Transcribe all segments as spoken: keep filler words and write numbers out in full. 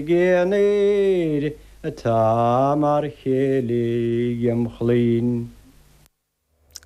Aonair atá mar chéile im chlainn.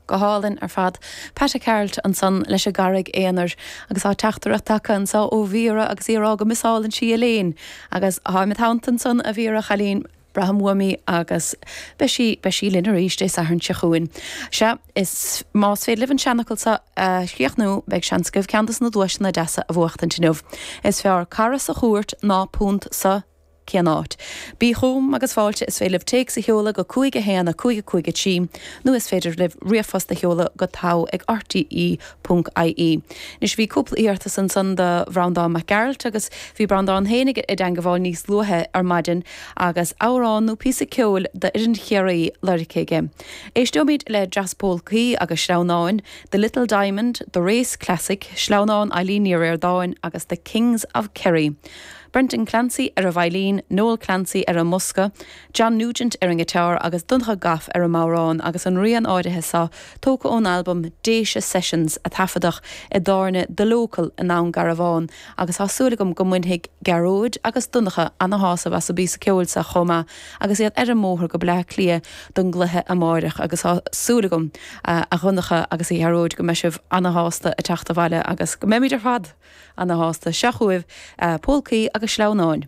Go hálainn ar fad. Pat Gearailt ansan leis an gCarraig Aonair agus tá teachtaireacht tagtha anseo ó Mhíra agus í ag rá go misálann sí Elaine agus tá mé ansan a Mhíra chailín braithim uaim í agus beidh sí beidh sí linn arís Dé Sathairn seo chugainn. Sea is más féidir libh an seanfhocal seo a chríochnú beidh seans agaibh ceann des na duaiseanna deasa a bhuachtaint inniu. Is fearr cara sa chúirt ná punt sa cén áit. Bí chugam agus fáilte is féidir libh téacs a sheoladh go cúig a haon a cúig a cúig a trí nó is féidir libh ríomhphost a sheoladh go togha ag RTE ponc IE. Anois bhí cúpla iarratas ansan do Bhreandán Mac Gearailt agus bhí Breandán féinig i dteagmháil níos luaithe ar maidin agus amhrán nó píosa ceoil d'fhoireann Chiarraí lorgtha aige. Éisteoimid le Dreas Pólcaí agus Sleamhnáin, The Little Diamond, The Race Classic, Sleamhnán Eileen Ní Ríordáin agus The Kings of Kerry. Brendan Clancy ar an veidhlín, Noel Clancy ar an mbosca, John Nugent ar an ngiotár agus Donncha Goff ar an mbodhrán agus an rian áirithe seo tógtha ón albam Déise Sessions a taifeadadh i dtábhairne The Local i nDún Garbhán agus tá súil agam go mbainfidh Gearóid agus Donncha ana-shásamh as an bpíosa ceoil seo chomh maith agus iad ar an mbóthar go Bleá Cliath don gcluiche amárach agus tá súil agam a Dhonncha agus a Ghearóid go mbeidh sibh ana-shásta ag teacht abhaile agus go mbeimid ar fad ana-shásta seo chugaibh pólcaí agus sleamhnáin.